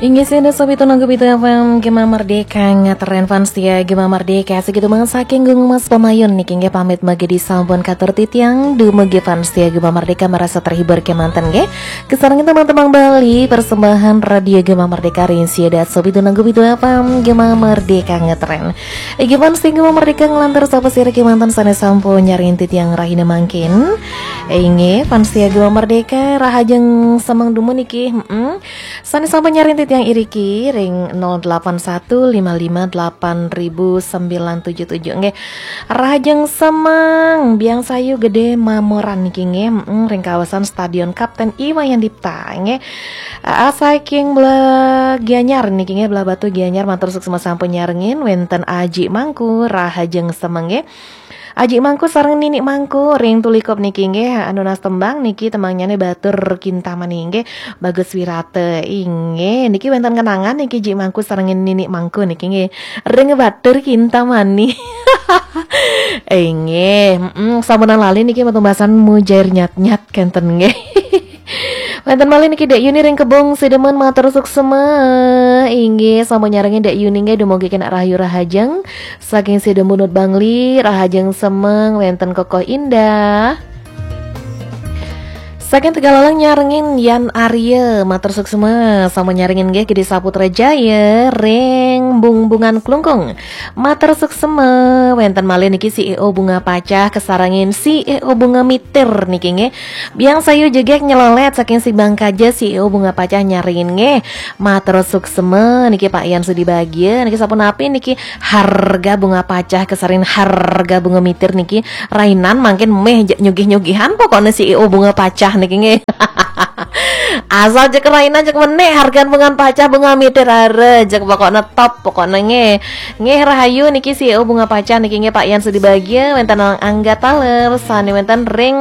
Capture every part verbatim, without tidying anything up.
Inggih, sida Sobi Tunanggu Pitu F M Gema Merdeka, ngetren fans setia Gema Merdeka. Segitu banget saking Gung Mas Pamayun niki, nggih, pamit mangke sampun katur titiang dumugi fans setia Gema Merdeka merasa terhibur kemanten, nggih. Kesarengin teman-teman Bali, persembahan Radio Gema Merdeka ring sida Sobi Tunanggu Pitu F M Gema Merdeka ngetren. Inggih, fans setia Gema Merdeka, nglantur sapa sira kemanten sane sampun nyarengin titiang rahina mangkin. Inggih, fans setia Gema Merdeka, rahajeng semeng dumun niki. Mm-mm. Sane sampun nyarengin titiang iriki ring nol delapan satu lima lima delapan ribu sembilan tujuh tujuh, nggih. Rahajeng semeng, Biang Sayu Gede Mamoran niki, nggih. Mm, ring kawasan Stadion Kapten I Wayan Dipta, nggih. Aa, saking belah Gianyar niki, nggih, belah Batu Gianyar, matur suksma sampun nyarengin. Wenten Aji Mangku, rahajeng semeng, nggih. Aji Mangku sareng Nini Mangku ring Tulikop niki, nggih, anu nunas tembang niki, tembangnyane Batur Kintamani, nggih, Bagus Wirata. Inggih, niki wenten kenangan niki, Ji Mangku sareng Nini Mangku niki, nggih, ring Batur Kintamani. Inggih, mm, sampunang lali niki, matumbasan mujair nyat-nyat kenten, nggih. Wenten malih niki Dek Yuni ring Kebong Sidemen, matur suksma. Inggih, sampun nyarengin Dek Yuni, nggih, dumugi kenak rahayu rahajeng. Saking Sidemen Bangli, rahajeng semeng, wenten Kokoh Indah. Saking Tegallalang nyarengin Yan Arya, matur suksma. Sampun nyarengin, nggih, Gede Saputra Jaya ring Bungbungan Klungkung. Matur suksma. Wenten malih niki C E O Bunga Pacah kesarengin C E O Bunga Mitir niki, nggih. Biang Sayu Jegek Nyelolet saking Sibang Kaja, C E O Bunga Pacah nyarengin, nggih. Matur suksma niki Pak Yan Sudi Bagia niki, sapunapi niki harga Bunga Pacah kesarengin harga Bunga Mitir niki, rainan mangkin meh, jek nyugih-nyugihan pokoknya C E O Bunga Pacah niki, nggih. Asal jek rainan jek menek hargan Bunga Pacah Bunga Mitir, are jek pokoknya top pokoknya, nggih. Nggih, rahayu niki C E O Bunga Pacah niki, nggih, Pak Yan Sudi Bagia, wenten Angga Taler sane wenten ring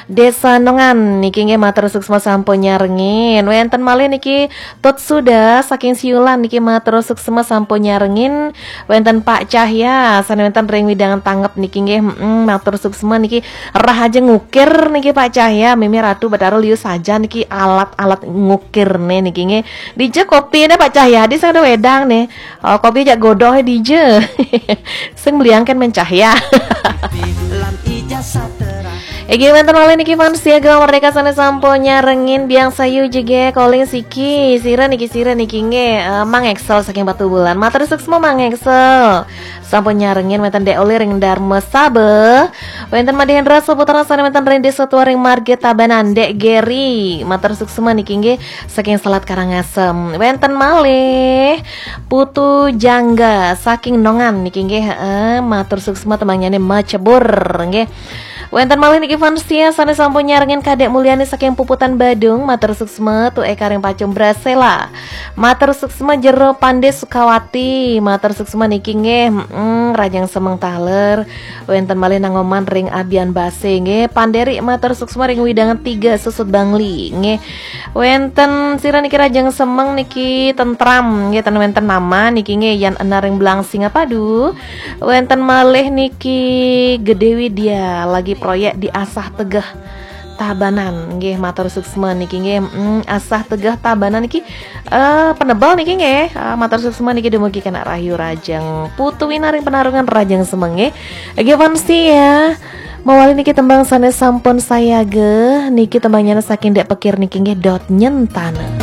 Desa Nongan niki, nggih, matur suksma sampun nyarengin. Wenten malih niki Tut Suda saking Siulan niki, matur suksma sampun nyarengin. Wenten Pak Cahya sane wenten ring Widangan Tangep niki, nggih. Mm, matur suksma niki, rahajeng ngukir niki Pak Cahya, Mimi Ratu Betara liu saja niki alat-alat ngukirne niki, nggih. Dija kopine Pak Cahya, di sing ada wedang nih. Oh, kopi jak godoh dija. Sing beliangkan men Cahya. Iki wenten malih niki fans setia Gema Merdeka sane sampun nyarengin. Biang Sayu Jegek, Koling Siki, sira niki, sira niki, nggih, eh, Mang Excel saking Batubulan. Matur suksma Mang Excel. Sampun nyarengin. Wenten Dek Oli ring Darma Saba. Wenten Madhe Hendra Saputra sane wenten ring Desa Tua ring Marga Tabanan, Dek Geri. Matur suksma niki, nggih, saking Selat Karangasem. Wenten malih Putu Jangga saking Nongan niki, nggih, heeh, matur suksma, tembangnyane Macebur, nggih. Wenten malih niki fans setia sane sampun nyarengin, Kadek Mulyani saking Puputan Badung, matur suksma. Tu Eka ring Pacung Brasela. Matur suksma Jero Pande Sukawati, matur suksma niki, nggih, mm, rahajeng semeng taler. Wenten malih Nangoman ring Abian Base, nggih, Panderi, matur suksma ring Widangan Tiga Susut Bangli, nggih. Wenten sira niki rahajeng semeng niki, tentram, nggih, ten wenten nama niki, nggih, Yan Enar ring Belang Singapadu. Wenten malih niki Gede Widya lagi proyek di Asah Tegeh Tabanan, nggih, matur suksma niki, nggih. Mm, Asah Tegeh Tabanan niki, eh, Penebel niki, nggih. Ah, matur suksma niki dumugi kenak rahayu rahajeng. Putu Wina ring Penarungan rahajeng semeng, nggih. Nggih, fans setia. Mawali niki tembang sane sampun sayaga niki, tembangnyane saking Dek Pekir niki, nggih, Dot Nyentana.